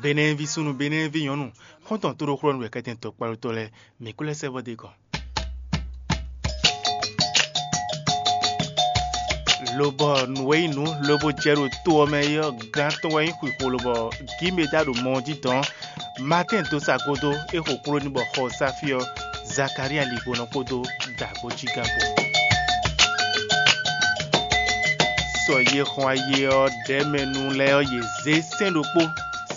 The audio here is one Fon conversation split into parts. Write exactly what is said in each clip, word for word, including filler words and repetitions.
Benɛ́ɛví súnnu, Benɛ́ɛví nyɔ̌nu, xɔ́ntɔn tóɖóxlɔ́nú wɛ kɛ́tɛn tɔkpáɖótɔ́ lɛ́ɛ, mǐ kún lɛ́ sɛ́ vɔ́ d'é gɔ́n. Lobɔ nǔ e nyí nǔ lobo jɛ ɖo to ɔ́ mɛ é ɔ́, gán tɔn wɛ nyí xwixwolo bɔ Gímeda ɖo mɔ ɔ́ jí dɔn. Matɛ́n dó sa gúdo, é xo kpló n'i bɔ xɔ ɔ́ sá fí ɔ́, Zakalía ligbonɔ kpódó dǎgbójígán kpó. Sɔ yě xɔn ayé ɔ́ ɖɛ̌mɛnu lɛ́ɛ ɔ́, yě zé sɛ́n ɖokpó.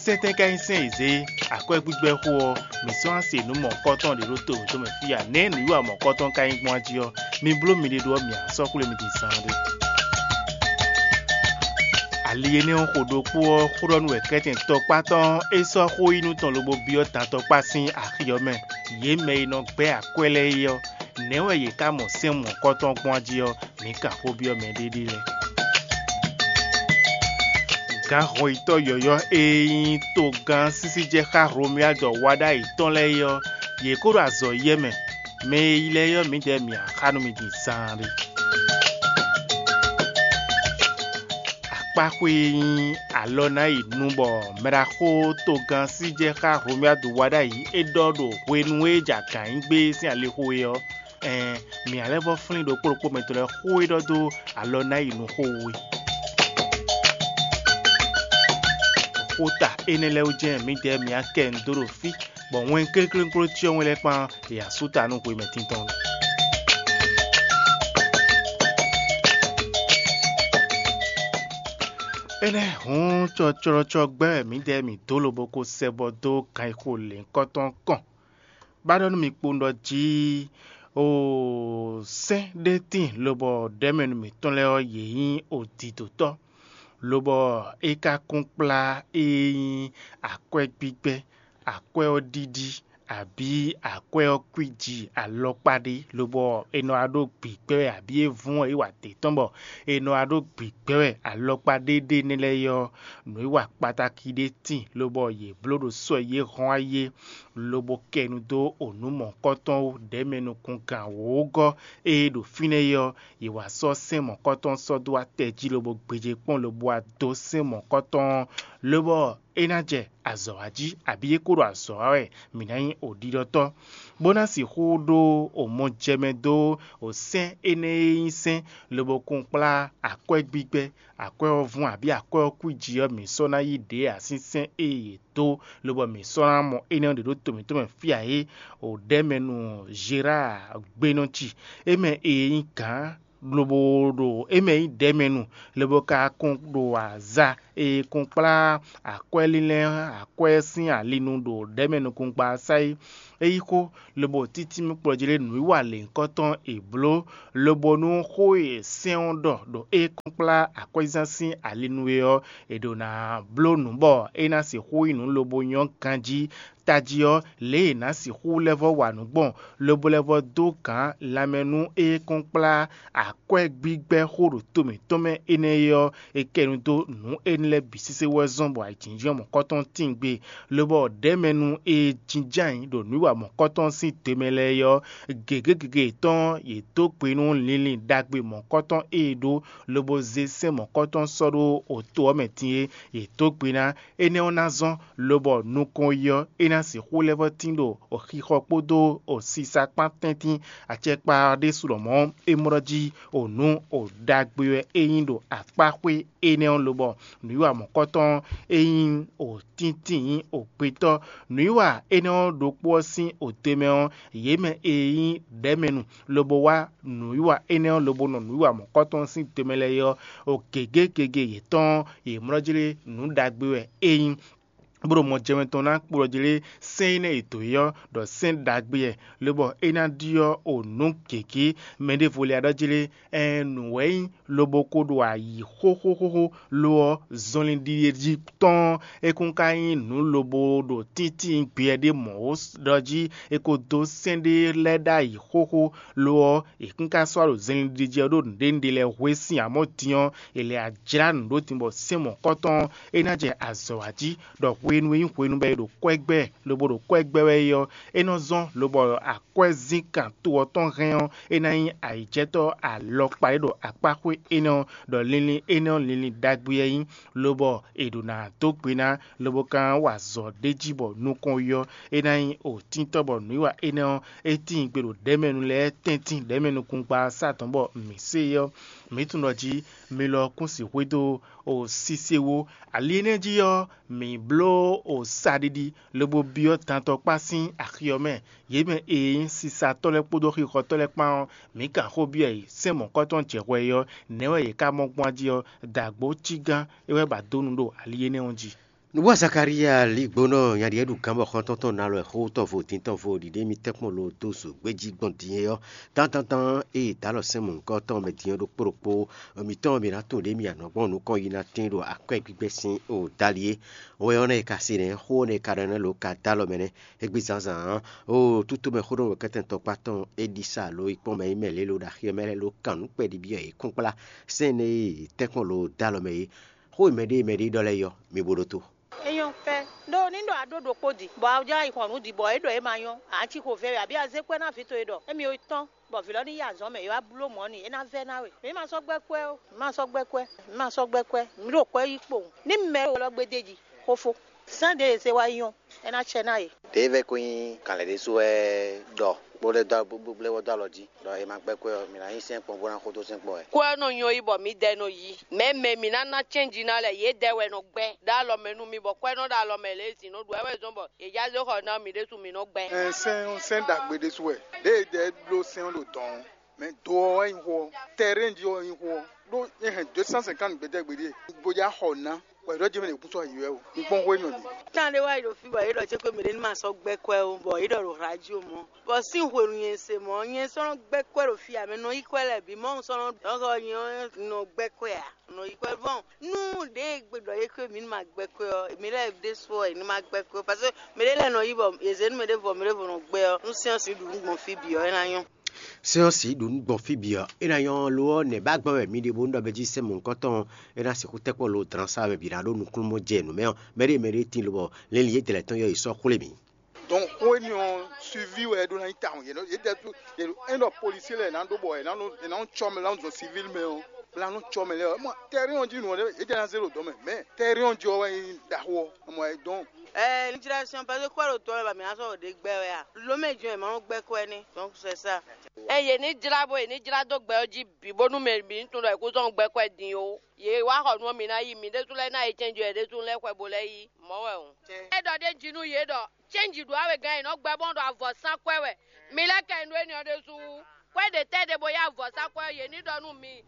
Sɛ́ntɛ́ ka nyí sɛ́n e zě akwɛ́gbígbɛ́ xó ɔ́, mǐ sɔ́ ná se nǔ mɔ̌kɔ́tɔn ɖě ɖó to mǐtɔn mɛ fí a? Nɛ̌ nǔwiwa mɔ̌kɔ́tɔn ka nyí gbɔn jí ɔ́, mi bló miɖée ɖó ɔ́, mǐ a sɔ́ xwlé mi din zaanɖé. Ali énɛ́ ɔ́ xo ɖokpó ɔ́, xó ɖɔ nú wɛ kɛ́tɛn tɔkpá tɔn é sɔ́ xó yí nú tɔn lobo byɔ́ dantɔkpá sín axi ɔ́ mɛ. Yě mɛ e nɔ gbɛ́ akwɛ́ lɛ́ɛ é ɔ́, nɛ̌ wɛ yě ká mɔ sɛ́n mɔ̌kɔ́tɔn gbɔn jí ɔ́, mǐ kan xó byɔ́ mɛɖéɖé lɛ́ɛ. Gǎnhɔnyitɔ́ yɔ̌yɔ́ e nyí togán sísíjɛxá Hlomyájɔ wa ɖ'ayǐ tɔn lɛ́ɛ é ɔ́, yě kó ɖo azɔ̌ yɛ́ mɛ. Mɛ e yi lɛ́ɛ ɔ́, mǐdɛɛ mǐ a xá nú mi din zaanɖé. Akpáxwé e nyí alɔ ná yi nu bɔ mɛɖaxó togán síjɛxá Hlomyádu wa ɖ'ayǐ é ɖɔ ɖo hwenu e é jɛ agǎn nyi gbé sín alixo é ɔ́, ɛɛn, mǐ a lɛ́ vɔ́ flín ɖokpó ɖokpó mɛ tɔn lɛ́ɛ xó e ɖɔ dó alɔ ná yi nu xó wú é. Xota énɛ́ lɛ́ɛ wú jɛ́n mǐdɛɛ mǐ a kɛ nǔ dó ɖo fí, bɔ wɛn kléklékpló cyɔ́ wɛn lɛ́ɛ kpán ya sú ta nú hwemɛ tintɔn. Énɛ́ hǔn cɔcɔlɔcɔ gbɛ́ wɛ mǐdɛɛ mǐ dó lobo ko sɛ bɔ dó kan e xo lěhunkɔtɔn kɔn. Ba ɖɔ nú mi kpowun ɖɔ jí o sɛ́n ɖé tíin lobɔ ɖɛ̌mɛnu mǐtɔn lɛ́ɛ ɔ́, yě nyí odǐdotɔ́, lobɔ é ka kún kplá e nyí akwɛ́gbígbɛ́, akwɛ́ ɔ́ ɖíɖí, abǐ akwɛ́ ɔ́ kwíji alɔkpa ɖé, lobɔ è nɔ wá ɖó gbǐgbɛ́ wɛ, abǐ é vún ɔ́, é wa dě tɔn bɔ è nɔ wá ɖó gbǐgbɛ́ wɛ alɔkpa ɖé ɖé énɛ́ lɛ́ɛ é ɔ́, nǔwiwa kpatáki ɖé tíin, lobɔ yě bló ɖo sɔ́ e yě hɔn wá yi é, lobo kɛ nu dó o nǔ mɔ̌hunkɔtɔn wú, ɖɛ̌mɛ nukúngán wǒgɔ́ e ɖo fínɛ́ é ɔ́, yě wá sɔ́ sɛ́n mɔ̌hunkɔtɔn sɔ́ dó atɛ jí lobo gbéjé kpɔ́n lobo wá dó sɛ́n mɔ̌hunkɔtɔn ɔ́, lobɔ é ná jɛ azɔ̌ wa jí, abǐ é kó ɖo azɔ̌ wa wɛ mǐ ná nyí oɖiɖɔtɔ́, bó ná sixú ɖó o mɔjɛmɛ dó o sɛ́n énɛ́ e nyí sɛ́n, lobo kún kplá akwɛ́ gbígbɛ́, akwɛ́ ɔ́ vún abǐ akwɛ́ ɔ́ kwíji ɔ́, mǐ sɔ́ ná yí ɖě ǎ sín sɛ́n e yě dó, lobɔ mǐ sɔ́ ná mɔ énɛ́ ɔ́ ɖě ɖó to mǐtɔn mɛ fí ǎ é. O ɖɛ̌mɛnu Zerá gbenɔ ci, é mɛ e nyí gǎn lobo ɖo é mɛ nyí ɖɛ̌mɛnu, lobo ka kún ɖo aza e kún kplá akwɛ́ lílɛ́, akwɛ́ sín alinu ɖo ɖɛ̌mɛ nukúnkpa sá é. É yí xó, lobo títí mì kplɔ́ jí lé nǔwiwa lěhunkɔtɔn è bló, lobo nú xó e sɛ́n ɔ́ ɖɔ ɖo é kún kplá akwɛ́zán sín ali nu é ɔ́, è ɖǒ ná bló nǔ bɔ é ná sixú nyí nǔ lobo nyɔ́ ganjí. Tají ɔ́, lě e è nǎ sixú lɛ́ vɔ́ wa nǔ gbɔn, lobo lɛ́ vɔ́ dó gǎn lanmɛ nú é kún kplá akwɛ́ gbígbɛ́ xó ɖo to mǐtɔn mɛ énɛ́ é ɔ́, è kɛ nu dó nǔ énɛ́ lɛ́ɛ bǐ sésé wɛ zɔ́n bɔ ayǐjínjɔ́n mɔ̌kɔ́tɔn tíngbe, lobɔ ɖɛ̌mɛnu e jínjɔ́n ayǐ ɖo nǔwiwa mɔ̌kɔ́tɔn sín te mɛ lɛ́ɛ é ɔ́, gěgé gěgé yětɔn yě dó gbe nú linlin ɖagbe mɔ̌kɔ́tɔn e è ɖó, lobo zé sɛ́n mɔ̌kɔ́tɔn sɔ́ ɖó oto ɔ́ mɛ din é, yě dó gbe ná. Énɛ́ ɔ́ ná zɔ́n, lobɔ nukɔn yi ɔ́, é ná sixú lɛ́ vɔ́ tín ɖo xixɔ kpódó sisa kpán tɛ́ntin. Acɛkpa ɔ́ ɖésú lɔmɔ̌, é mlɔ́ jí o nǔ o ɖagbe wɛ é nyí ɖo akpáxwé énɛ́ ɔ́, lobɔ nǔwiwa mɔ̌kɔtɔn e nyí o tíntín nyí o gbetɔ́. Nǔwiwa énɛ́ ɔ́ ɖokpó ɔ́ sín o te mɛ ɔ́, yě mɛ e nyí ɖɛ̌mɛnu lobo wá nǔwiwa énɛ́ ɔ́ lobo nɔ nǔwiwa mɔ̌kɔtɔn sín te mɛ lɛ́ɛ é ɔ́, o gěgé gěgé yětɔn ɔ́, yě mlɔ́ jí lé nǔ ɖagbe wɛ é nyí. Bó ɖo mɔ jɛmɛ tɔn ná kplɔ́ jí lé sɛ́n énɛ́ e dǒ é ɔ́ ɖɔ sɛ́n ɖagbe wɛ, lobɔ é ná ɖyɔ́ o nǔ gěgé. Mɛ ɖěvo lɛ́ɛ ɖɔ jí lé, ɛɛn, nǔ wɛ nyí, lobo ko ɖo ayǐ xóxóxóxó, lo ɔ́, zɔnlin ɖiɖe jí tɔn ɔ́, é kún ka nyí nǔ lobo ɖo tíntín gbeyɛ ɖé mɔ̌ ó ɖɔ jí é ko dó sɛ́n ɖé lɛ́ɛ ɖ'ayǐ xóxó, lo ɔ́, è kún ka sɔ́ ɖo zɛnlin ɖiɖe jí ɔ́ ɖó nǔɖé nǔɖé lɛ́ɛ hwe sín amɔ̌ din ɔ́, è lɛ ajlá nǔ ɖó din bɔ sɛ́n mɔ̌kɔtɔn ɔ́, é ná jɛ azɔ̌ wa jí, ɖɔ hwe hwenu e nyí hwenu bɔ è ɖo kwɛ́ gbɛ lobo ɖo kwɛ́ gbɛ wɛ é ɔ́, é nɔ zɔ́n lobɔ akwɛ́zínkan to ɔ́ tɔn hɛn ɔ́, é ná nyí ayǐjɛ́tɔ́ alɔkpa e ɖo akpáxwé énɛ́ ɔ́, ɖɔ linlin énɛ́ ɔ́ linlin ɖagbe wɛ é nyí, lobɔ è ɖǒ ná dó gbe ná, lobo ka wa azɔ̌ ɖ'é jí bɔ nukɔn yi ɔ́, é ná nyí òtíntɔ́ bɔ nǔwiwa énɛ́ ɔ́, é tíin gbe ɖo ɖɛ̌mɛnu lɛ́ɛ tɛ́ntin ɖɛ̌mɛnukungba sá dɔ̌n bɔ mǐ se é ɔ́, mǐ tunwun ɖɔ jí mi lɔ kún sixú xwedó o sise wú. Ali énɛ́ jí ɔ́, mǐ bló o saɖiɖi lobo byɔ́ dantɔkpá sín axi ɔ́ mɛ. Yě mɛ e nyí sisatɔ́ lɛ́ɛ kpódó xixɔtɔ́ lɛ́ɛ kpán ɔ́, mǐ kan xó byɔ́ yě sɛ́n mɔ̌kɔ́tɔn jɛ hwɛ é ɔ́, nɛ̌ wɛ yě ká mɔ gbɔn jí ɔ́, dǎgbó cí gán é wɛ ba dó nu ɖo ali énɛ́ ɔ́ jí. Nǔbúa Zakalíya lígbónɔ nya ɖíe ɖu gǎn bɔ xɔ́ntɔn tɔn ná lɔ xó tɔn vo dín tɔn vo ɖiɖe émí tɛ́nkpɔ́n lo dó zǒgbé jí gbɔn din é ɔ́, tántantán e dǎ lɔ sɛ́n mɔ̌hunkɔ tɔn mɛ din ɔ́ ɖokpó ɖokpó mǐtɔn mǐ ná tunwun ɖě mì anɔ̌ gbɔn nukɔn yi ná tín ɖo akwɛ́ gbígbɛ́ sín o dali é. Wɛ ɔ́ nɛ́ e ka se nɛ́ xó ɔ́ nɛ́ e ka ɖɔ nɛ́ lo ka dó alɔ mɛ nɛ́. Égbé zǎnzǎn ɔ́, o tútú mɛ xó ɖɔ wɛ kɛ́tɛn tɔkpá tɔn é ɖi sa lo yi kpɔ́n mɛ yi mɛ lě lo ɖo axi ɔ́ mɛ lɛ́ɛ lo kan nǔ kpɛɖi byɔ́ yě kúnkplá sɛ́n nɛ́ e tɛ́nkpɔ́n lo dó alɔ mɛ é. Xó e mɛɖé e mɛɖé ɖɔ lɛ́ɛ é ɔ́, mi bo ɖótó. É nyɔ́ fɛ́ ɖó ní ɖɔ a ɖó ɖokpó di, bɔ a jlá yi xɔ nǔ di, bɔ é ɖɔ é ma nyɔ́, a cí xo vɛ́ wɛ, abǐ a zé kwɛ́ ná vǐ towe ɖɔ émí yi tɔ́n, bɔ vǐ lɔ ní yi azɔ̌ mɛ, é wá bló mɔ̌ n'i, é ná vɛ́ ná we. Mǐ ma sɔ́ gbɛ́ kwɛ́ ó, mǐ ma sɔ́ gbɛ́ kwɛ́, mǐ ma sɔ́ gbɛ́ kwɛ́, mǐ ɖo kwɛ́ yí kpowun. Ní mɛ e lɔ gbe d'é jí, xófó, sán ɖě e zé wá yi nyɔ́, é ná cɛ ná yě. Ɖěe vɛ́ ko nyí gǎnlɛ̌ ɖésú wɛ ɖɔ bó lɛ́ dó bó lɛ́ wɔ dó alɔ jí, ɖɔ è ma gbɛ́ kwɛ́ ɔ́, mǐ ná nyí sɛ́nkpɔ́n bó ná xo dó sɛ́nkpɔ́n wɛ. Kwɛ́ ɔ́ nɔ nyɔ́ yí bɔ mǐdɛɛ nɔ yí. Mɛ̌ mɛ mǐ ná ná cɛ́nji ná lɛ́ɛ, yědɛɛ wɛ nɔ gbɛ́ ɖó alɔ mɛ nú mì, bɔ kwɛ́ nɔ ɖo alɔ mɛ lě e zǐn nɔ ɖu wɛ wɛ zɔ́n bɔ è já zé xɔ ná mǐ ɖésú mǐ nɔ gbɛ́. Ɛn, sɛ́n sɛ́n ɖagbe ɖésú wɛ. Ɖěe dɛɛ bló sɛ́n ɔ́ ɖo dɔ̌n ɔ́, mɛ do ɔ́ wɛ nyí xó ɔ́, tɛrɛ́n jí ɔ́ wɛ nyí xó ɔ́, ɖó é hɛn deux cent cinquante gbɛtɛ́ gbeɖé, bo já xɔ ná, bɔ è ɖɔ jɛ́n mɛ ɖě kún sɔ́ yi wɛ o. Un kpɔ́n xó énɛ́ ɔ́ ɖi. Tán ɖé wá yi ɖo fí bɔ yě ɖɔ cé xwé mǐɖé ní ma sɔ́ gbɛ́ kwɛ́ ó, bɔ yě ɖɔ ɖo radio mɔ̌. Bɔ sín hwenu nyɛ se mɔ̌, nyɛ sɔ́ nɔ gbɛ́ kwɛ́ ɖo fí ǎ, mɛ nɔ yí kwɛ́ lɛ́ɛ bǐ, Mawu sɔ́ nɔ ɖɔ xɔ nyɛ ɔ́ nɔ gbɛ́ kwɛ́ ǎ, nɔ yí kwɛ́ vɔn. Nú ɖěe gbe ɖɔ yě xwé mǐ ní ma gbɛ́ kwɛ́ ɔ́, mǐ lɛ́ɛ ɖésú ɔ́, è ní ma gbɛ́ kwɛ́ ó, parce que mǐɖé lɛ́ɛ nɔ yí bɔ yě zě nú mǐɖé vɔ mǐɖé vɔ nɔ gbɛ́ ɔ́, nú syɛ́nsi ɖu nǔ gbɔn fí bǐ ɔ́, é ná nyɔ́. Sɛ́n ɔ́ sǐ ɖo nǔ gbɔn fí bǐ ɔ́, é ná nyɔ́ lo ɔ́, nɛ̌ ba gbɔn wɛ mi ɖe bónú ɖɔ mɛ jí sɛ́n mɔ̌hunkɔtɔn ɔ́, é ná sixú tɛ́ kpɔ́ lo dlǎn sá wɛ bǐ ná ɖó nukúnnú jɛ nǔ mɛ ɔ́, mɛɖé mɛɖé tíin lobɔ linlin yědɛɛ lɛ́ɛ tɔn ɔ́ yi sɔ́ xwlé mǐ. Donc xó énɛ́ ɔ́, suivi wɛ é ɖó ná nyí tawun. Yě nɔ yě ɖɛ tú yě ɖo é ɖɔ policier lɛ́ɛ ná ɖó bɔ è nǎ nɔ è nǎ nɔ cɔ́ mɛ, è nǎ nɔ zɔn civil mɛ ɔ́, bó ná nɔ cɔ́ mɛ lɛ́ɛ ɔ́, mɔ tɛ́rín ɔ́ jí nǔ ɔ́ ɖé, yě jɛ ná zé ɖo dɔ̌n mɛ, mɛ tɛ́rín ɔ́ jí ɔ́ wɛ nyí ɖaxó ɔ́, mɔ ɛ dɔn. Ɛ ní jlá sɔn, parce que kwɛ́ ɖo tɔ wɛ ba mǐ ná sɔ́ ɖo ɖě gbɛ wɛ a? Lomɛ jɔn è ma nɔ gbɛ́ kwɛ́ ní, donc c'est ça. Ɛ yě ní jlá bó yě ní jlá dó gbɛ ɔ́ jí bǐ bónú mɛ bǐ ní tunwun ɖɔ è kú zɔ́n gbɛ́ kwɛ́ din ó. Yě wá xɔ nú ɔ́, mǐ ná yi, mǐ ɖésú lɛ́ɛ ná yi cɛnjú yě ɖésú lɛ́ɛ xwɛ bó lɛ́ yi, mɔ̌ wɛ hǔn. É ɖɔ ɖ'é jí nú yě ɖɔ cɛ́nji ɖu awegán e nɔ gbɛ bɔn ɖo avɔ sán kwɛ wɛ. Mi lɛ́ kɛ nú énɛ́ ɔ́ ɖésú wú. Kwɛ́ ɖě tɛ́ ɖe bo yá avɔ sán kwɛ ɔ́, yě ní ɖɔ nú mi.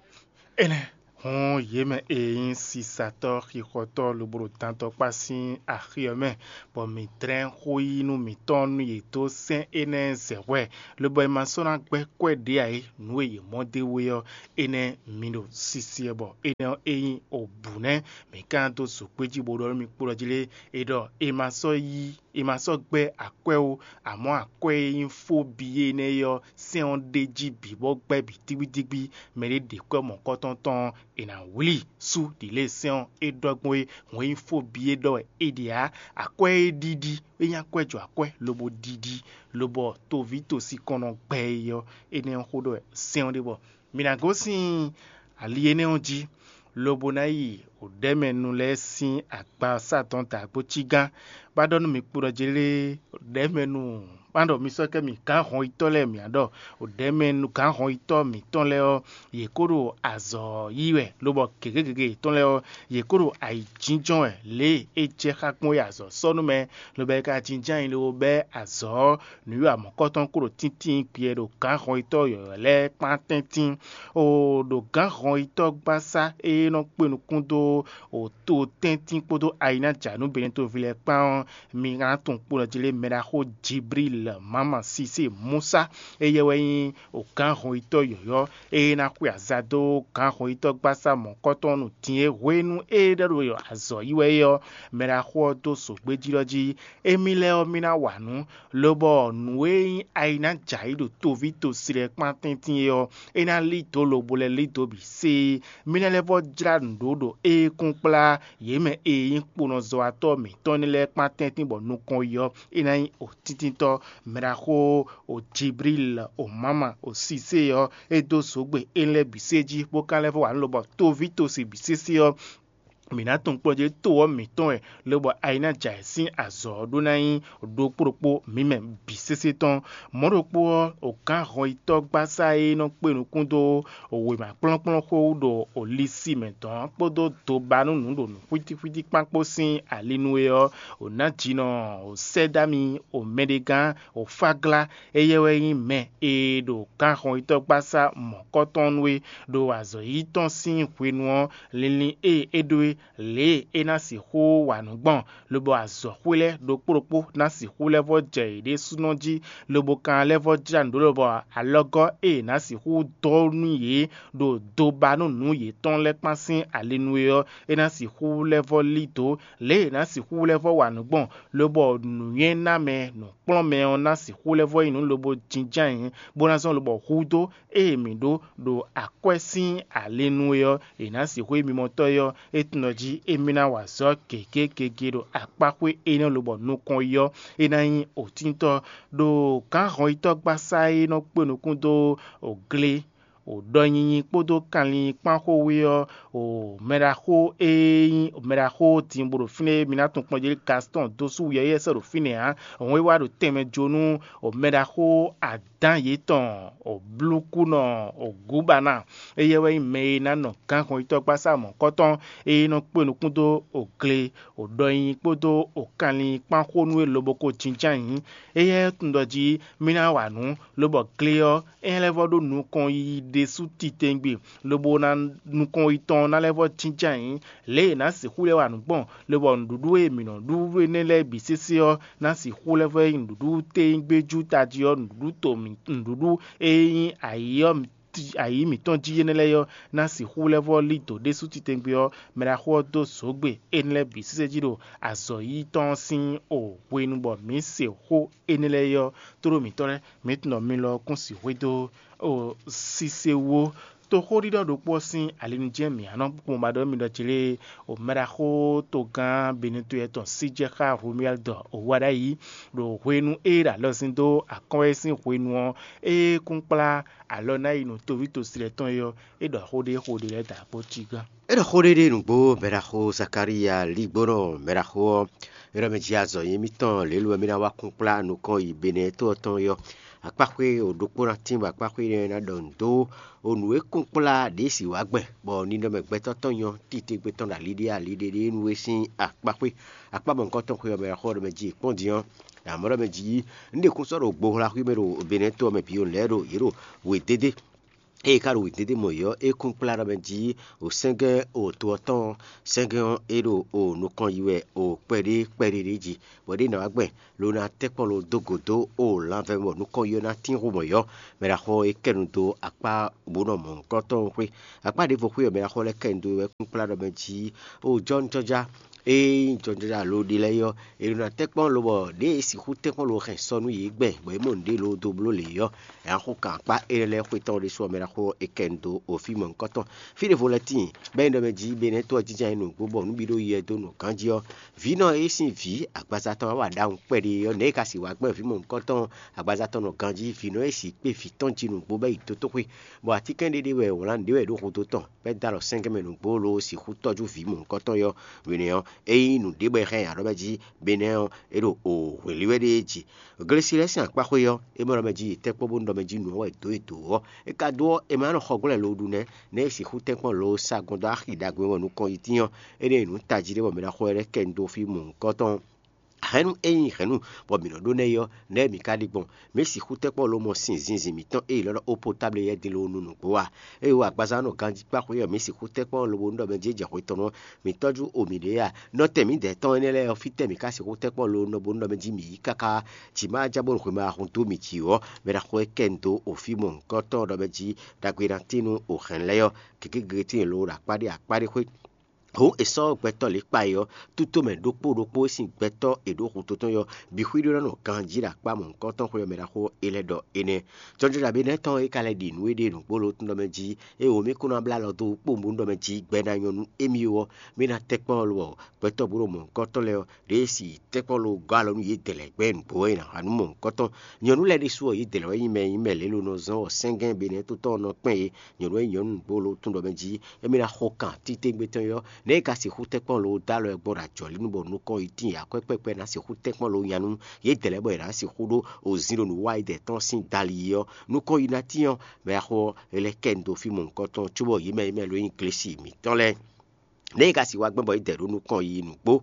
Énɛ́ hɔn yě mɛ e nyí sisatɔ́ xixɔtɔ́ lobo ɖo dantɔkpá sín axi ɔ́ mɛ, bɔ mǐ dlɛ́n xó yí nú mǐtɔn nú yě dó sɛ́n énɛ́ zɛ hwɛ, lobo è ma sɔ́ ná gbɛ́ kwɛ́ ɖě ǎ é. Nǔ e yě mɔ d'é wú é ɔ́, énɛ́ mi ɖo sisi ɛ bɔ énɛ́ ɔ́ é nyí obǔ nɛ́. Mǐ ka ná dó zǒgbéjí bó ɖɔ nú mi kpo ɖɔ jí lé, è ɖɔ è ma sɔ́ yí è ma sɔ́ gbɛ́ akwɛ́ ó, amɔ̌ akwɛ́ e nyí fó bǐ énɛ́ ɔ́, sɛ́n ɔ́ ɖ'é jí bǐ bɔ gbɛ́ bǐ dígbídígbí. Mɛɖé ɖe kwɛ́ mɔ̌kɔ́tɔn tɔn ɔ́, è nǎ wlí sú ɖǐ lě e sɛ́n ɔ́ é ɖɔ gbɔn é. Hǔn e nyí fó bǐ é ɖɔ wɛ é ɖe ǎ. Akwɛ́ e ɖiɖi é nyí akwɛ́ jɔ akwɛ́ lobo ɖiɖi, lobɔ toví tosinkɔnnɔ gbɛ é ɔ́, énɛ́ ɔ́ xó ɖɔ wɛ sɛ́n ɔ́ ɖe bɔ mi ná gosín ali énɛ́ ɔ́ jí, lobo ná yi wǔɖɛ́mɛnu lɛ́ɛ sín agba sá dɔn dǎgbó cí gán, bá ɖɔ nú mi kpo ɖɔ jlé wǔɖɛ́mɛnu, má ɖɔ mi sɔ́ kɛ mi gǎn hɔnyitɔ́ lɛ́ɛ mǐ á ɖɔ wǔɖɛ́mɛnu gǎn hɔnyitɔ́ mǐtɔn lɛ́ɛ ɔ́, yě kó ɖo azɔ̌ yí wɛ, lobɔ gěgé gěgé yětɔn lɛ́ɛ ɔ́, yě kó ɖo ayǐjínjɔ́n wɛ lě e é jɛ xá gbɔn é azɔ̌ sɔ́ nú mɛ, lobo é ka jínjɔ́n ayǐ lobo bɛ́ azɔ̌ ɔ́, nǔwiwa mɔ̌kɔtɔn kó ɖo tíntín gbɛ ɖo gǎn hɔnyitɔ́ yɔ̌yɔ́ lɛ́ɛ kpán tɛ́ntin. O ɖo gǎn hɔnyitɔ́ gbasá e nɔ kpé nukún dó o to tɛ́ntin kpódó ayinájǎnú Benɛ́ toví lɛ́ɛ kpán ɔ́, mi ná tunwun kpo nɔ jí lé mɛɖaxó Jiblíl Mama Sisée Musa, éyɛ́ wɛ nyí o gǎn hɔnyitɔ́ yɔ̌yɔ́ e ná xwe aza dó gǎn hɔnyitɔ́ gbasá mɔ̌kɔtɔn nú din e hwenu e é ɖɔ ɖo azɔ̌ yi wɛ é ɔ́, mɛɖaxó ɔ́ dó zǒgbéjí ɖɔ jí émí lɛ́ɛ ɔ́, mí ná wa nǔ, lobɔ nǔ e nyí ayǐnájǎyi ɖo toví tosi lɛ́ɛ kpán tɛ́ntin é ɔ́, é ná lí dǒ lobo lɛ́ lí dǒ bǐ séé. Mí ná lɛ́ vɔ́ jlá nǔɖó ɖo é kún kplá yě mɛ e nyí kponɔzɔ́watɔ́ mǐtɔn énɛ́ lɛ́ɛ kpán tɛ́ntin bɔ nukɔn yi ɔ́, é ná nyí òtíntɔ́ mɛɖaxó o Jiblíl o Mama o Sisée ɔ́, é dó zǒgbe énɛ́ lɛ́ɛ bǐ sé jí, bó ka lɛ́ vɔ́ wa nǔ lobɔ tóví tosi bǐ sésé ɔ́, mǐ ná tunwun kplɔ́njé to ɔ́ mǐtɔn wɛ, lobɔ ayi ná jɛ ayǐ sín azɔ̌ ɔ́ ɖó ná nyí ɖokpó ɖokpó mǐ mɛ bǐ sésé tɔn. Mɔ̌ ɖokpó ɔ́, o gǎn hɔnyitɔ́gbasá e nɔ kpé nukún dó wěma kplɔ́nkplɔ́n xó wú ɖo Lisi mɛ dɔn ɔ́ kpódó dobanúnǔ ɖo nǔxwítíxwítí kpán kpó sín ali nú é ɔ́, o nǎ jinɔ o sɛ́dámi o mɛɖegán o fáglá, éyɛ́ wɛ nyí mɛ e ɖo gǎn hɔnyitɔ́gbasá mɔ̌kɔtɔn nú é, ɖo azɔ̌ yíyí tɔn sín hwenu ɔ́, linlin e é ɖó é, lě e é ná sixú wa nǔ gbɔn, lobo azɔ̌xwé lɛ́ɛ ɖokpó ɖokpó ná sixú lɛ́ vɔ́ jɛ yě ɖésúnɔ jí, lobo kan lɛ́ vɔ́ jlá nǔ ɖó lobɔ alɔgɔ́ e è nǎ sixú dɔ́ nú yě ɖo dobanúnǔ yětɔn lɛ́ɛ kpán sín ali nú é ɔ́, é ná sixú lɛ́ vɔ́ lí dǒ. Lě e è nǎ sixú lɛ́ vɔ́ wa nǔ gbɔn, lobɔ nǔnywɛ́namɛ nǔkplɔ́nmɛ ɔ́ ná sixú lɛ́ vɔ́ nyí nǔ lobo jínjɔ́n ayǐ, bó ná zɔ́n lobɔ hudó e mǐ ɖó ɖo akwɛ́ sín ali nú é ɔ́, è nǎ sixú nyí mimɔtɔ́ é ɔ́, é tunwun ɖɔ jí émí ná wa azɔ̌ gěgé gěgé ɖo akpáxwé énɛ́ lobɔ nukɔn yi ɔ́, é ná nyí òtíntɔ́. Ɖo gǎn hɔnyitɔ́gbasá e nɔ kpé nukún dó gle o ɖɔ nyinyi kpódó kanlin kpán xó wú ɔ́, o mɛɖaxó e nyí mɛɖaxó din bó ɖo fínɛ́ e mi ná tunwun kplɔ́njé Gastɔn dó sú wǔyɛ́yɛ́ sɔ́ ɖo fínɛ́ ǎ, hɔn e wá ɖo tɛnmɛ jó nú o mɛɖaxó adán yětɔn o blúkúnɔ o gǔbaná. Éyɛ́ wɛ nyí mɛ e ná nɔ gǎn hɔnyitɔ́gbasá mɔ̌kɔtɔn e nɔ kpé nukún dó o gle o ɖɔ nyinyi kpódó o kanlin kpán xó nú é lobo ko jínjɔ́n ayǐ. Éyɛ́ tunwun ɖɔ jí mì ná wa nǔ, lobɔ gle ɔ́, é ná lɛ́ vɔ́ ɖó nukɔn yiyi ɖésú titewungbe, lobo ná nukɔn yitɔn ná lɛ́ vɔ́ jínjɔ́n ayǐ. Lě e è nǎ sixú lɛ́ wa nǔ gbɔn, lobɔ nǔɖuɖu e mǐ nɔ ɖu énɛ́ lɛ́ɛ bǐ sésé ɔ́ ná sixú lɛ́ vɔ́ nyí nǔɖuɖu téwúngbéjú tají ɔ́, nǔɖuɖu to mǐ nǔɖuɖu e nyí ayǐ ɔ́ ayǐ mǐtɔn jí énɛ́ lɛ́ɛ ɔ́, ná sixú lɛ́ vɔ́ lí dǒ ɖésú titewungbe ɔ́, mɛɖaxó ɔ́ dó zǒgbe énɛ́ lɛ́ɛ bǐ sésé jí ɖo azɔ̌ yíyí tɔn ɔ́ sín o hwenu bɔ mǐ se xó énɛ́ lɛ́ɛ ɔ́, tló mǐtɔn lɛ́ɛ, mǐ tunwun ɖɔ mi lɔ kún sixwé dó o sise wú ó. Toxóɖiɖɔ ɖokpó ɔ́ sín ali nu jɛ́n mǐ ná nɔ kpɔ́n ba ɖɔ mi ɖɔ jlé o mɛɖaxó togán Benɛtɔ́ tɔn sí jɛ xá Romuald o wá ɖ'ayǐ ɖo hwenu e é ɖo alɔ sin dó akɔ́nwɛ sín hwenu ɔ́, é kún kplá alɔ ná yi nú toví tosi lɛ́ɛ tɔn é ɔ́, é ɖɔ xó ɖé xó ɖé lɛ́ɛ dǎ kpó cí gán. É ɖɔ xó ɖé ɖé nǔgbó mɛɖaxó Zakalíya lígbónɔ mɛɖaxó ɔ́, é ɖɔ mɛ jí azɔ̌ nyí émítɔn lě e mí ná wá kún kplá nukɔn yi Benɛ́ to ɔ́ tɔn é ɔ́, akpáxwé o ɖokpó ná tín bɔ akpáxwé énɛ́ ná ɖɔ nǔ dó o nǔ e kún kplá ɖě sì wá gbɛn, bɔ ninɔmɛ gbɛtɔ́ tɔn nyɔ́ titewungbe tɔn ɖo ali ɖé ali ɖé ɖé nú é sín akpáxwé. Akpá mɔ̌hunkɔtɔn xwe ɔ́ mɛ xó ɔ́ ɖɔ mɛ jí kpɔ́n din ɔ́, amɔ̌ ɖɔ mɛ jí un ɖe kún sɔ́ ɖo gbohla xwí mɛ ɖo Benɛ́ to ɔ́ mɛ bǐ o lɛ́ɛ ɖo yě ɖo wědédé. Ée é ka ɖo wědédé mɔ yě ɔ́, é kún kplá ɖɔ mɛ jí o sɛ́ngɛ́n o to ɔ́ tɔn ɔ́, sɛ́ngɛ́n ɔ́, é ɖo o nukɔn yi wɛ o kpɛɖé kpɛɖé ɖé jí, bɔ ɖěe ná wá gbɛn lo ná tɛ́ kpɔ́n lo dó gǒ dó o lanvɛ bɔ nukɔn yi ɔ́ ná tín xo mɔ yě ɔ́, mɛ ɖaxó ɔ́ é kɛ nu dó akpá bǔ nɔ mɔ̌hunkɔtɔn xwé. Akpá ɖěvo xwé ɔ́, mɛ ɖaxó lɛ́ɛ kɛ nu dó wɛ kún kplá ɖɔ mɛ jí o jɔ́nújɔ́já e nyí jɔjɔ́já lo ɖé lɛ́ɛ é ɔ́, è nɔ ná tɛ́nkpɔ́n lobɔ ɖěe è sixú tɛ́nkpɔ́n lo hɛn sɔ nú yě gbɛn, bɔ yě mɔ nǔɖé lo dó bló lě é ɔ́, è nǎ xo kan akpá énɛ́ lɛ́ɛ xwé tɔn ɖésú ɔ́ mɛ ná xo é kɛ nu dó o fí mɔ̌hunkɔtɔn. Fí ɖěvo lɛ́ɛ tíin, bɔ é nyí ɖɔ mɛ jí Benɛ́to ɔ́ jínjɔ́n ayǐ nǔgbó bɔ nǔ bǐ ɖo yɛ dó nɔ ganjí ɔ́, vǐ nɔ e sín vǐ agbaza tɔn wá wa ɖaxun kpɛɖé ɔ́, nɛ̌ è ka sixú wá gbɛn vǐ mɔ̌hunkɔtɔn agbaza tɔn nɔ ganjí? Vǐ nɔ e sixú kpé vǐ tɔn jí nǔgbó bɔ é yi dotóxwé, bɔ atínkɛn ɖé ɖé wɛ è wlǎn nǔɖé wɛ ɖó hudó tɔn, bɔ é dó alɔ sɛ́nkɛ́nmɛ nǔgbó lobo sixú tɔ́jú vǐ mɔ̌hunkɔtɔn ɔ́. Hwenɛ́ ɔ́, é nyí nǔɖé bɔ è hɛn nyi aɖɔ̌ mɛ jí, Benɛ́ ɔ́, é ɖo o hwǐnlí wɛ ɖéé jí. Glesi lɛ́ɛ sín akpáxwé ɔ́, é mɔ ɖɔ mɛ jí tɛ́nkpɔ́n bónú ɖɔ mɛ jí nǔ ɔ́ wɛ dǒ e dǒ ɔ́, é ka dó ɔ́, è ma nɔ xɔ glɔ́ ɛ lo ɖu nɛ́, nɛ̌ è sixú tɛ́nkpɔ́n lo sa gbɔn dó axi ɖagbe e mɔ nukɔn yi tín ɔ́, énɛ́ e nǔ tají ɖé bɔ mɛ ɖaxó ɔ́ lɛ́ kɛ nu dó fí mɔ̌hunkɔtɔn. Hɛ̌nnu e nyí hɛ̌nnu bɔ mǐ nɔ ɖó nɛ́ é ɔ́, nɛ̌ mǐ ka ɖi gbɔn? Mǐ sixú tɛ́nkpɔ́n lo mɔ sinzin mǐtɔn e è ylɔ́ ɖɔ opotable yɛ́ din lo nú nǔgbó a? Ée wú agbaza nɔ ganjí kpá xwé ɔ́, mǐ sixú tɛ́nkpɔ́n lobo nú ɖɔ mɛ jí é jɛ hwe tɔn nú mǐ tɔ́jú o mǐɖée a? Nɔtɛn mǐdɛɛ tɔn énɛ́ lɛ́ɛ ɔ́, fítɛ́ mǐ ka sixú tɛ́nkpɔ́n lo nɔ bónú ɖɔ mɛ jí mǐ yí káká? Jǐ ma ja bónú hwe ma hun dó mǐ jí ɔ́, mɛ ɖaxó e kɛ nu dó o fí mɔ̌hunkɔtɔn ɖɔ mɛ jí ɖagbe ná tín nú o hɛ̌n lɛ́ɛ ɔ́, gěgé gěgé tíin lo ɖo akpá ɖé akpá ɖé xwé. Hǔn è sɔ́ gbɛtɔ́ lě kpa é ɔ́, tútomɛ ɖokpó ɖokpó e sín gbɛtɔ́ è ɖǒ xutó tɔn é ɔ́, bǐ xwíɖó ná nɔ ganjí ɖo akpá mɔ̌hunkɔtɔn xwé ɔ́ mɛ ɖaxó élɔ́ ɖɔ énɛ́. Jɔjɔɖabí nɛ́ tɔn é ka lɛ́ ɖi nǔ e ɖe nǔgbó lo tún ɖɔ mɛ jí, ée wǒ mì kún ná blá alɔ dó kpónbónú ɖɔ mɛ jí gbɛ ná nyɔ́ nú émí ó ɔ́, mì ná tɛ́nkpɔ́n lɔ gbɛtɔ́ bú ɖo mɔ̌hunkɔtɔn lɛ́ɛ ɔ́, ɖěe si tɛ́nkpɔ́n lo gɔ́ alɔ nú yědɛɛ lɛ́ɛ gbɛ́ nǔgbó wɛ è nǎ wa nú mɔ̌hunkɔtɔn. Nyɔ̌nu lɛ́ɛ ɖésú ɔ́, yědɛɛ lɛ́ɛ wɛ nyí mɛ e nyí mɛ lě lo nɔ zɔ́n ɔ́ sɛ́ngɛ́n be nɛ́ tó tɔn ɔ́ nɔ kpɛ́n yě. Nyɔ̌nu e nyí nyɔ̌nu nǔgbó lo tún ɖɔ mɛ jí, émí ná xo kan títewungbe tɔn é ɔ́, nɛ̌ è ka sixú tɛ́nkpɔ́n lo dó alɔ ɛ gbɔn ɖo ajɔ̌lí nu bɔ nukɔn yi tíin akwɛ́ kpɛ́kpɛ́ ná sixú tɛ́nkpɔ́n lo nya nú yědɛɛ lɛ́ɛ bɔ è nǎ sixú ɖó ozǐn ɖo nǔ wa yědɛɛ tɔn sín dali é ɔ́, nukɔn yi ná tíin ɔ́, mɛ axó ɔ́, é lɛ́ kɛ nu dó fí mɔ̌hunkɔtɔn cóbɔ yě mɛ e mɛ lo nyí Glesi mǐtɔn lɛ́ɛ. Nɛ̌ è ka sixú wa gbɛn bɔ yědɛɛ ɖó nukɔn yi nǔgbó?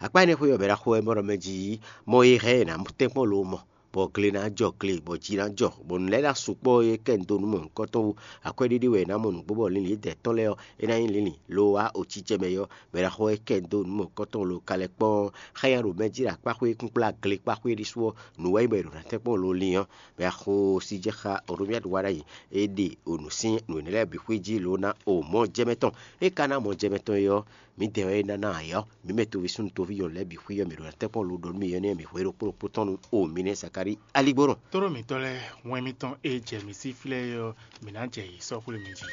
Akpá énɛ́ xwé ɔ́, mɛ ɖaxó wɛ mɔ ɖɔ mɛ jí mɔ e hɛn è nǎ tɛ́nkpɔ́n lo mɔ, bɔ gle ná jɔ gle, bɔ ji ná jɔ, bɔ nǔ lɛ́ɛ ná sukpɔ́ e kɛ nu dó nú mɔ̌hunkɔtɔn wú. Akwɛ́ ɖé ɖé wɛ è nǎ mɔ nǔgbó bɔ linlin yědɛɛ tɔn lɛ́ɛ ɔ́, é ná nyí linlin lo wá otíjɛ mɛ é ɔ́, mɛ ɖaxó e kɛ nu dó nú mɔ̌hunkɔtɔn lo ka lɛ́ kpɔ́n xá nya ɖo mɛ jí ɖo akpáxwé kúnkplá gle kpáxwé ɖésú ɔ́, nǔ wɛ nyí bɔ è ɖǒ ná tɛ́nkpɔ́n lo lin ɔ́, mɛ axó sí jɛ xá Oromiadu wá ɖ'ayǐ, é ɖe onǔ sín nǔ énɛ́ lɛ́ɛ bǐ xwé jí lo ná o mɔ̌ jɛ mɛ tɔn. É ka ná mɔ̌ jɛ mɛ tɔn é ɔ́, mǐdɛɛ wɛ é ná ná ayǐ ɔ́, mǐ mɛ toví súnnu toví nyɔ̌nu lɛ́ɛ bǐ xwí ɔ́, mǐ ɖo ná tɛ́nkpɔ́n lo ɖɔ nú mì énɛ́ mǐ hwe ɖokpó ɖokpó tɔn nú o mǐ nɛ́ Zakalíi aligbónɔ. Tlóló mǐtɔn lɛ́ɛ, wɛn mitɔn e jɛ mǐ sí flɛ́ é ɔ́, mǐ ná jɛ yě sɔ́ xwlé mi jí.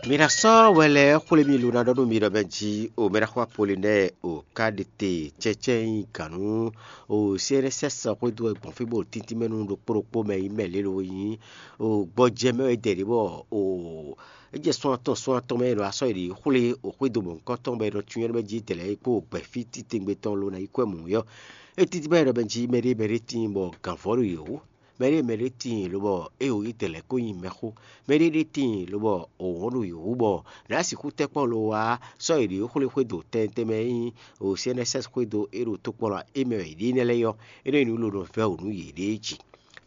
Mi ná sɔ́ wɛ lɛ́ɛ xwlé mi lo ná ɖɔ nú mi ɖɔ mɛ jí o mɛ ná xwá Polinɛ́ɛ o ká ɖe te cɛ́cɛ́ nyi gǎn nú o C N S S xwédo wɛ gbɔn fí bó ɖo tíntín mɛ nú ɖokpó ɖokpó mɛ yi mɛ lě lo nyí o gbɔjɛ mɛ wɛ dɛ ɖě bɔ o é jɛ sɔ́n atɔn sɔ́n atɔn mɛ e ɖo asɔ́ e ɖě xwlé o xwédo mɔ̌hunkɔtɔn bɔ è nɔ cyɔ́n ɖɔ mɛ jí dɛ̌ lɛ́ɛ é kpó gbɛ̌ fí titewungbe tɔn lo ná yi kwɛ́ mǔ é ɔ́, é títí bɔ é ɖɔ mɛ jí mɛɖé mɛɖé tíin bɔ gǎnvɔ́ ɖo yě wú. Mɛɖé mɛɖé tíin lobɔ é o yí dɛ̌ lɛ́ɛ kó nyi mɛxó. Mɛɖé ɖé tíin lobɔ o wɔ̌n ɖo yě wú bɔ nǎ sixú tɛ́nkpɔ́n lo wá sɔ́ yě ɖě xwlé xwédo tɛntɛn mɛ e nyí o C N S S xwédo é ɖo tokpɔnɔ é mɛ wɛ yě ɖe énɛ́ lɛ́ɛ ɔ́, é nɔ nyí nǔ lo nɔ vɛ́ wǔ nú yěɖée jí.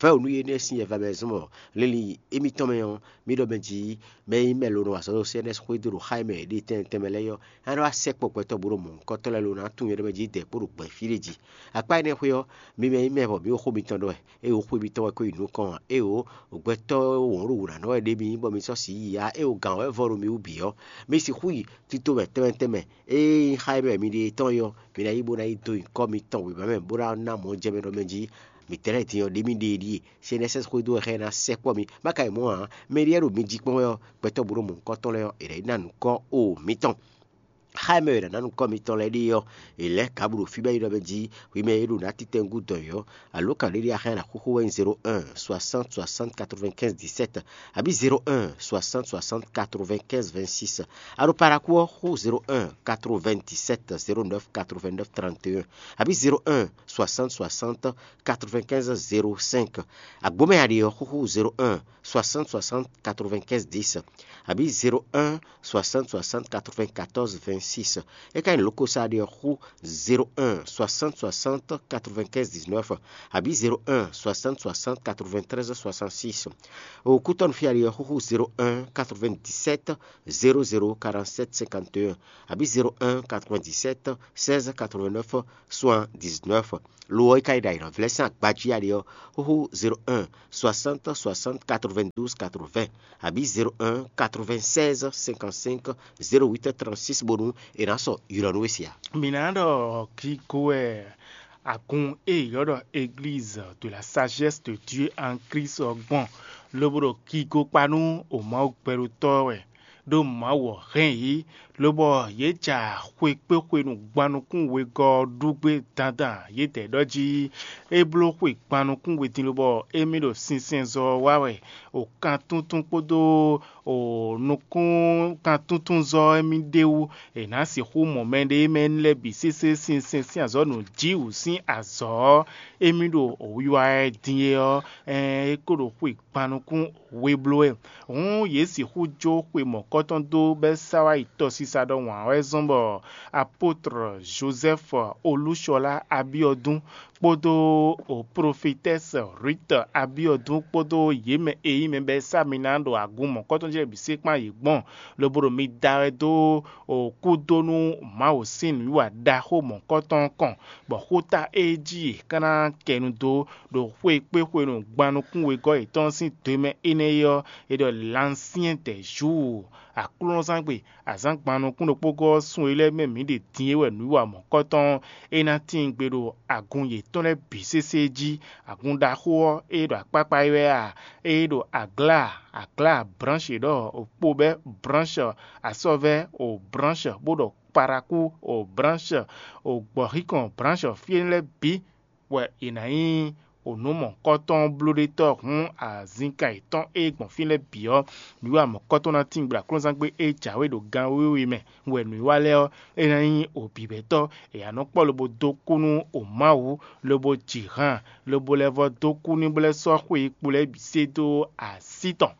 Vɛ́ wǔ nú yě nɛ́ sín yɛva mɛ zɔ́n bɔ linlin émítɔn mɛ ɔ́, mí ɖɔ mɛ jí mɛ e nyí mɛ lo nɔ wa azɔ̌ ɖo C N S xwédo ɖo xá e mɛ yě ɖe tɛntɛn mɛ lɛ́ɛ ɔ́, é nɔ wá sɛkpɔ́ gbɛtɔ́ bó ɖo mɔ̌hunkɔtɔn lɛ́ɛ lo ná tunwun nyɛ ɖɔ mɛ jí dɛ̌ kpó ɖo gbɛ̌ fí ɖé jí. Akpá énɛ́ xwé ɔ́, mi mɛ e nyí mɛ bɔ mǐ ɖo xó mitɔn ɖɔ wɛ, ée wǒ xwe mitɔn wɛ ko yi nukɔn ǎ, ée wǒ gbɛtɔ́ wɔ̌n ɖo wǔ ná nɔ wɛ ɖě mi nyí bɔ mi sɔ́ sǐ yi ǎ, ée wǒ gǎn wɛ vɔ ɖo mi wú bǐ ɔ́, mi sixú yi tito mɛ tɛnmɛ tɛnmɛ. Ée nyí xá émɛ mi ɖe tɔn é ɔ́, mi ná yi bó ná yi dó nyǐkɔ mitɔn wěma mɛ bó ná ná mɔ̌ jɛ mɛ ɖɔ mɛ jí mǐtɛ́ lɛ́ɛ din ɔ́, ɖě mi ɖe e ɖíe, C N S S xwedó wɛ xá ɛ ná sɛkpɔ́ mi. Má ka yi mɔ̌ ǎ, mɛ e ɖíe ɖo mi jí kpɔ́n wɛ ɔ́, gbɛtɔ́ bó ɖo mɔ̌hunkɔtɔn lɛ́ɛ ɔ́, è nǎ yi ná nǔkɔ o mǐtɔn. Xá e mɛ e è nǎ ná nǔkɔ mitɔn lɛ́ɛ ɖe ɔ́, è lɛ̌ Gablu ɖo fí bɔ é ɖɔ mɛ jí hwi mɛ e ɖo nǎ titɛngú dɔn yě ɔ́, alǒkan ɖé ɖé a hɛn ná xóxó wɛ nyí zéro un soixante soixante quatre-vingt-quinze dix-sept, abǐ zéro un soixante soixante quatre-vingt-quinze vingt-six. A ɖo Parakou ɔ́, xó zéro un quatre-vingt-dix-sept zéro neuf quatre-vingt-neuf trente et un, abǐ zéro un soixante soixante quatre-vingt-quinze zéro cinq. Agbomɛ a ɖe ɔ́, xóxó zéro un soixante soixante quatre-vingt-quinze dix, abǐ zéro un soixante soixante quatre-vingt-quatorze vingt-six. É ka nyí lǒkosá ɖé ɔ́, xú zéro un soixante soixante quatre-vingt-quinze dix-neuf, abǐ zéro un soixante soixante quatre-vingt-treize soixante-six. O kútɔ́nú fí a ɖe ɔ́, xúxú zéro un quatre-vingt-dix-sept zéro zéro quarante-sept cinquante et un, abǐ zéro un quatre-vingt-dix-sept seize quatre-vingt-neuf soixante-dix-neuf. Lo ɔ́, é ka yi ɖo ayǐhɔ́ngbe sín agbají a ɖe ɔ́, xóxó zéro un soixante soixante quatre-vingt-douze quatre-vingts, abǐ zéro un quatre-vingt-seize cinquante-cinq zéro huit trente-six bónú è nǎ sɔ́ ylɔ́ nú we sia. Mǐ ná ɖɔ kigo wɛ agun e è ylɔ́ ɖɔ Église de la Sagesse de Dieu en Christ ɔ́ gbɔn, lobo ɖo kigo kpa nú o Mawu gbɛɖótɔ́ wɛ, ɖó Mawu ɔ́ hɛn yě, lobɔ yě ja xwekpéxwenu gban nukún wegɔ́ ɔ́ ɖu gbé dandan. Yědɛɛ ɖɔ jí é bló xwe gban nukún we din, lobɔ émí ɖo sinsɛnzɔ́ ɔ́ wa wɛ, o kan tuntun kpódó o nukún kan tuntun zɔ́ émí ɖ'é wú. È nǎ sixú mɔ mɛɖé mɛ lɛ́ɛ bǐ sésé sinsɛn sín azɔ̌ nǔ jí wǔ sín azɔ̌ ɔ́, émí ɖo wiwa wɛ din é ɔ́, ɛɛn é ko ɖo xwe gban nukún we bló wɛ. Hǔn yě sixú jó xwe mɔ̌kɔtɔn dó bɔ é sá wá yi tɔsisa ɖɔhun ǎ wɛ zɔ́n bɔ apótr Jozɛ́fu Olúshɔlá Abyɔ́dún kpódó o profetɛ́si Rwíte Abyɔ́dún kpódó yě mɛ e nyí mɛ bɔ é sá mi ná ɖo agun mɔ̌kɔtɔn jí lɛ́ɛ bǐ sé kpán yě gbɔn, lobo ɖo mi da wɛ dó o kúdónú Mawu sín nǔwiwa ɖaxó mɔ̌kɔtɔn ɔ́ kɔn, bɔ xóta e jí yě ka ná kɛ nu dó ɖo xwe kpé xwenu gban nukún wegɔ́ yětɔn sín sín do e mɛ énɛ́ é ɔ́, è ɖɔ Lansyɛ́n dɛ Zuu. Aklúnɔzángbe azǎngban nukún ɖokpó gɔ́ ɔ́, sun e lɛ́ɛ mɛ mǐ ɖe din é wɛ nǔwiwa mɔ̌kɔtɔn ɔ́, é ná tíin gbe ɖo agun yětɔn lɛ́ɛ bǐ sésé jí. Agun ɖaxó ɔ́, ée ɖo akpákpá é wɛ a? Ée ɖo aglá, aglá bránshi ɖɔ okpóbɛ́ bránshi asɔ́vɛ́ o bránshi bó ɖɔ kpaɖakú o bránshi o gbɔ̌xíkɔn bránshi fí énɛ́ lɛ́ɛ bǐ wɛ è nǎ nyí o nǔ mɔ̌hunkɔtɔn blóɖétɔ́ hǔn azinkan yětɔn e gbɔn fí lɛ́ɛ bǐ ɔ́, nǔwiwa mɔ̌hunkɔtɔn ná tín gbla aklúnɔzángbe e jǎwe ɖo gan wěwe mɛ wɛ nǔwiwa lɛ́ɛ ɔ́, é ná nyí o bǐbɛ́tɔ́. È nǎ nɔ kpɔ́ lobo dó kú nú o Mawu, lobo ji han, lobo lɛ́ vɔ́ dó kú n'i bó lɛ́ sɔ́ xwe e kpo lɛ́ɛ bǐ se dó así tɔn.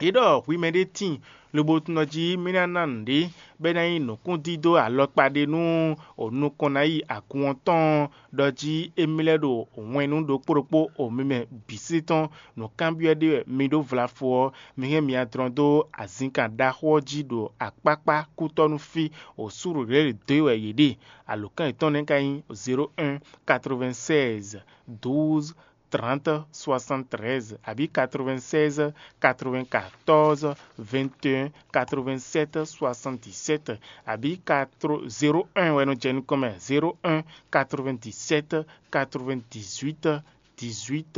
Yě ɖɔ hwi mɛ ɖé tíin, lobo tunɔ jí mì ná ná nǔɖé, bɔ é ná nyí nǔkúndídó alɔkpa ɖé nú o nukɔn ná yi agun ɔ́ tɔn, ɖɔ jí émí lɛ́ɛ ɖo wɛn nú ɖokpó ɖokpó o mi mɛ bǐ sí tɔn. Nǔkanbyɔ́ ɖé wɛ mi ɖó vlafo ɔ́, mi hɛn myadlɔn dó azinkan ɖaxó ɔ́ jí ɖo akpákpá kútɔ́ nú fí, o súɖuɖěɖedó wɛ yě ɖe. Alǒkan yětɔn nɛ́ ka nyí zéro un, quatre-vingt-seize, douze, trente, soixante-treize, abǐ quatre-vingt-seize, quatre-vingt-quatorze, vingt et un, quatre-vingt-sept, soixante-dix-sept, abǐ quatre zéro un wɛ nɔ jɛ nukɔn mɛ, zéro un, quatre-vingt-dix-sept, quatre-vingt-dix-huit, dix-huit,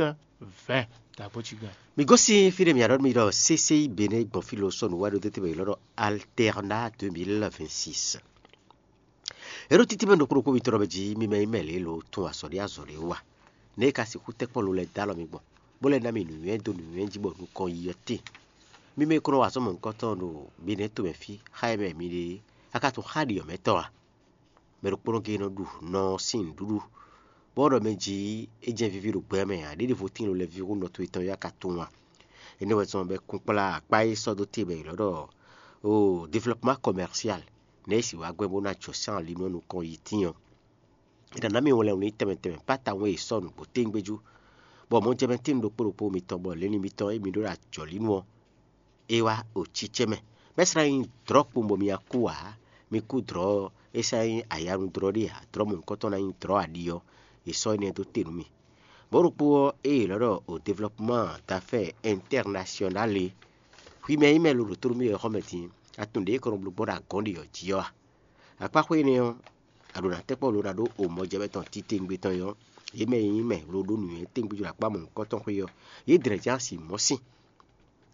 vingt. Dǎgbó cí gán. Mi gosín fí ɖé mǐ ɖɔ mi ɖɔ C C I Bénin gbɔn fí lo sɔ́ nǔ wá ɖó tɛ́ntin bɔ è lɔ́ ɖɔ Alterna deux mille vingt-six. É ɖo títí mɛ ɖokpó ɖokpó mitɔn ɖɔ mɛ jí mi mɛ nyí mɛ lě lo tún azɔ̌ ɖé azɔ̌ ɖé wa. Nɛ̌ è ka sixú tɛ́ kpɔ́ lo lɛ́ɛ dó alɔ mi gbɔn, bó lɛ́ ná mi nǔnywɛ́ dó nǔnywɛ́ jí bɔ nukɔn yi ɔ́ tíin? Mi mɛ e ko nɔ wa azɔ̌ mɔ̌hunkɔtɔn ɖo Benɛ́ɛ to mɛ fí xá e mɛ mi ɖe é, a ka tunwun xá ɖiɔ̌mɛtɔ́ a? Mɛ ɖokpónɔ géé nɔ ɖu nɔ ɔ́ sín nǔɖuɖu, bɔ é ɖɔ mɛ jí é jɛ́n víví ɖo gbɛ mɛ ǎ, ɖěɖěvo tíin lo lɛ́ɛ ví hú nɔ towe tɔn ɔ́ a ka tunwun a? Énɛ́ wɛ zɔ́n bɔ é kún kplá akpá e sɔ́ dó te bɔ è lɔ̌ ɖɔ o développement commercial nɛ̌ e sixú wá gbɛn bó ná jɔ sín ali nú ɔ́ nukɔn yi tíin ɔ́. È nǎ ná mì wlɛ́n wú ní tɛnmɛ tɛnmɛ pátawun e è sɔ́ nǔgbó téŋgbéjú, bɔ mɔ̌ jɛ mɛ tíin ɖokpó ɖokpó mitɔn bɔ lěni mitɔn e mi ɖó ɖo ajɔ̌lí nú ɔ́, é wá o cícɛ́ mɛ. Bɔ é sɔ́ ná nyí dlɔ̌ kpowun bɔ mi wá kú ǎ; mi kú dlɔ̌ ɔ́, é sɔ́ ná nyí ayanu dlɔ́ ɖé ǎ; dlɔ̌ mɔ̌hunkɔtɔn ná nyí dlɔ̌ aɖi ɔ́, è sɔ́ énɛ́ dó te nú mi. Mɔ̌ ɖokpó ɔ́, ée è lɔ̌ ɖɔ o développement d'affaires international é, hwi mɛ e nyí mɛ lo ɖo tó nú mì wɛ xɔ́mɛ din, a tunwun ɖě è ko nɔ bló gbɔn ɖo agɔ̌n ɖě ɔ́ jí ɔ́ a? Akpáxwé énɛ́ ɔ́, a ɖǒ ná tɛ́ kpɔ́ lo ná ɖó o mɔjɛmɛ tɔn titewungbe tɔn é ɔ́, yě mɛ e nyí mɛ lo ɖó nǔnywɛ́ tɛ́ngbɛ́ jí ɖo akpá mɔ̌hunkɔtɔn xwé ɔ́, yě dlɛ̌ jɛ́n asi mɔ̌ sín.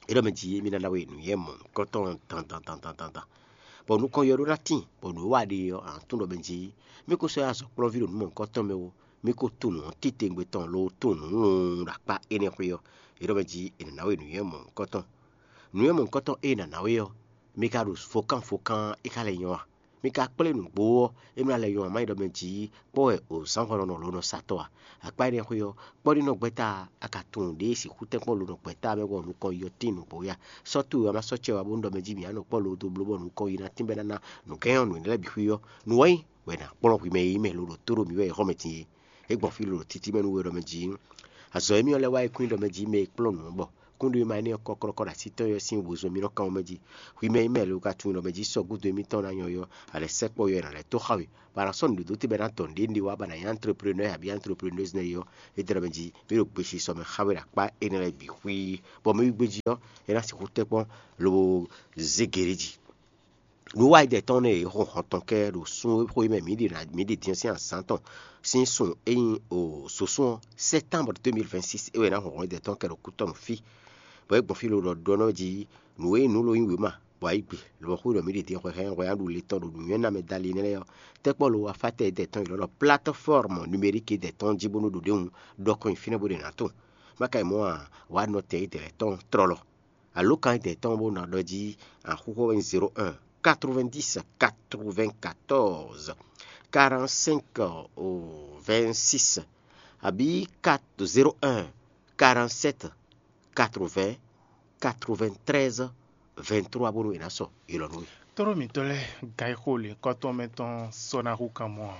É ɖɔ mɛ jí émí ná ná we nǔnywɛ́ mɔ̌hunkɔtɔn dandan dandan dandan, bɔ nukɔn yɔ ɖó ná tíin, bɔ nǔ e wa ɖe ɔ́, a nǎ tunwun ɖɔ mɛ jí mí ko sɔ́ yi azɔ̌kplɔ́nví ɖo nǔ mɔ̌hunkɔtɔn mɛ ó, mí ko tunwun nǔ ɔ́ titewungbe tɔn, lo tunwun nǔ lɔn ɖo akpá énɛ́ xwé ɔ́. É ɖɔ mɛ jí è nǎ ná we nǔnywɛ́ mɔ̌hunkɔtɔn. Nǔnywɛ́ mɔ̌hunkɔtɔn e è nǎ ná we ɔ́, mi ka ɖo fokán fokán é ka lɛ́ nyɔ́ a? Mi ka kplé nǔgbó ɔ́, é mlá lɛ́ nyɔ́ a? Má nyí ɖɔ mɛ jí kpɔ́ wɛ o zǎnhɔn nɔ lo nɔ sa tɔ́ a? Akpá énɛ́ xwé ɔ́, kpɔ́ ɖi nɔ gbɛ́ta a? A ka tunwun ɖě e sixú tɛ́nkpɔ́n lo nɔ gbɛ́ta mɛ bɔ nukɔn yi ɔ́ tíin nǔgbó ya? Sɔ́ towe wá má sɔ́ cɛ wá bónú ɖɔ mɛ jí mǐ á nɔ kpɔ́ lo dó bló bɔ nukɔn yi ná tínbɛ́ ná ná nǔgɛ́n ɔ́ nǔ énɛ́ lɛ́ɛ bǐ xwí ɔ́, nǔ wá nyí wɛ è nǎ kplɔ́n hwi mɛ e nyí mɛ lo ɖo tó ɖo mǐ wɛ e xɔ́ mɛ din é. É gbɔn fí lo ɖo títí mɛ nú we ɖɔ mɛ jí azɔ̌ émí ɔ́ lɛ́ wá yi kún ɖɔ mɛ jí mɛ e kplɔ́n nǔ ɔ́ bɔ kúnɖó e ma énɛ́ ɔ́ kɔ́ kɔ́ ɖo asítɔ́ ɔ́ sín wezun mì nɔ kan mɛ jí. Hwi mɛ e mɛ lo ka tunwun ɖɔ mɛ jí sɔ́ gúdo émítɔn ná nyɔ́ ɔ́, a lɛ̌ sɛkpɔ́ yɔ ɛ nǎ lɛ́ tó xa we. Bɔ a nǎ sɔ́ nǔɖuɖu tɛ́ bɔ é ná dɔn nǔɖé ɖé wá bɔ a nǎ nyí antreprenɔ́ abǐ antreprenɔ́zi nɛ́ é ɔ́, é dlɛ́ mɛ jí mí ɖo gbesisɔ mɛ xa we ɖo akpá énɛ́ lɛ́ɛ bǐ xwíí, bɔ mɛ wí gbé jí ɔ́, é ná sixú tɛ́ kpɔ́n lobo zé gěɖé jí. Nǔ wa yi dɛ tɔn nɛ e hɔn hɔn tɔn kɛ ɖo sun e xo e mɛ mǐ ɖe ná mǐ ɖe din ɔ́ sín azǎn tɔn sín sun e nyí o sosún ɔ́, sɛ́tánbru deux mille vingt-six é wɛ ná hɔn hɔn yi dɛ tɔn kɛ ɖo kútɔ́ nú fí. Bɔ é gbɔn fí lo ɖɔ ɖɔ nɔ jí nǔ e nǔ lo nyí wěma bɔ ayǐ gbe, lobɔ xwé ɖɔ mǐ ɖe din hwɛhɛn hwɛ ná ɖu le tɔn ɖo nǔnywɛ́ ná mɛ dali nɛ́ lɛ́ɛ ɔ́, tɛ́ kpɔ́ lo wa fá tɛ yi dɛ tɔn yi lɔ ɖɔ plateforme numérique yi dɛ tɔn jí bónú ɖo ɖěhun ɖɔ kɔn nyi fínɛ́ bó ɖe ná tɔn. Má ka yi mɔ̌ a, wǎ nɔ tɛ yi dɛ lɛ́ɛ tɔn tlɔlɔ. Alǒkan e dɛ̌ tɔn bó ná ɖɔ jí axúxú wɛ nyí zéro un, quatre-vingt-dix, quatre-vingt-quatorze, quarante-cinq, vingt-six, abǐ zéro un, quarante-sept, quatre-vingts, quatre-vingt-treize, vingt-trois bónú è nǎ sɔ yi lɔ nú we. Tlóló mǐtɔn lɛ́ɛ, gan e xo lěhunkɔtɔn mɛ tɔn sɔ́ ná hú kan mɔ ǎ.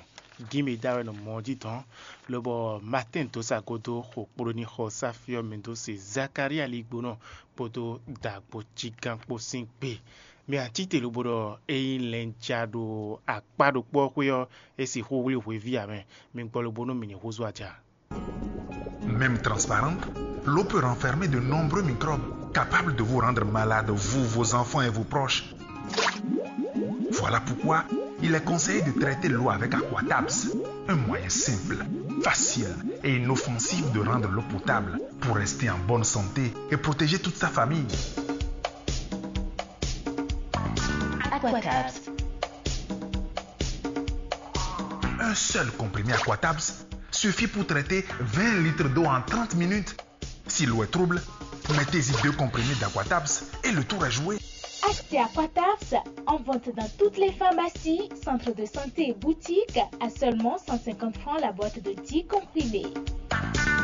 Gǐn mǐ da wɛ nɔ mɔ ɔ́ jí dɔ̌n, lobɔ Matín dó sa gúdo xo kpló ní xɔ sáfí ɔ́ mɛ dó se Zakalía ligbónɔ kpódó dǎgbó jígán kpó sín gbe. Mi ǎ cí te lobo ɖɔ ényí lɛnja ɖo akpá ɖokpó ɔ́ xwé ɔ́, é sixú wlí hweví ǎ mɛ. Mi gbɔ lobo nú mǐ ní húzú aja. Même transparente, L'eau peut renfermer de nombreux microbes capables de vous rendre malade, vous, vos enfants et vos proches. Voilà pourquoi il est conseillé de traiter l'eau avec Aquatabs, un moyen simple, facile et inoffensif de rendre l'eau potable pour rester en bonne santé et protéger toute sa famille. Aquatabs. Un seul comprimé Aquatabs suffit pour traiter vingt litres d'eau en trente minutes. Si l'eau est trouble, mettez-y deux comprimés d'Aquatabs et le tour est joué. Achetez Aquatabs en vente dans toutes les pharmacies, centres de santé et boutiques à seulement cent cinquante francs la boîte de dix comprimés.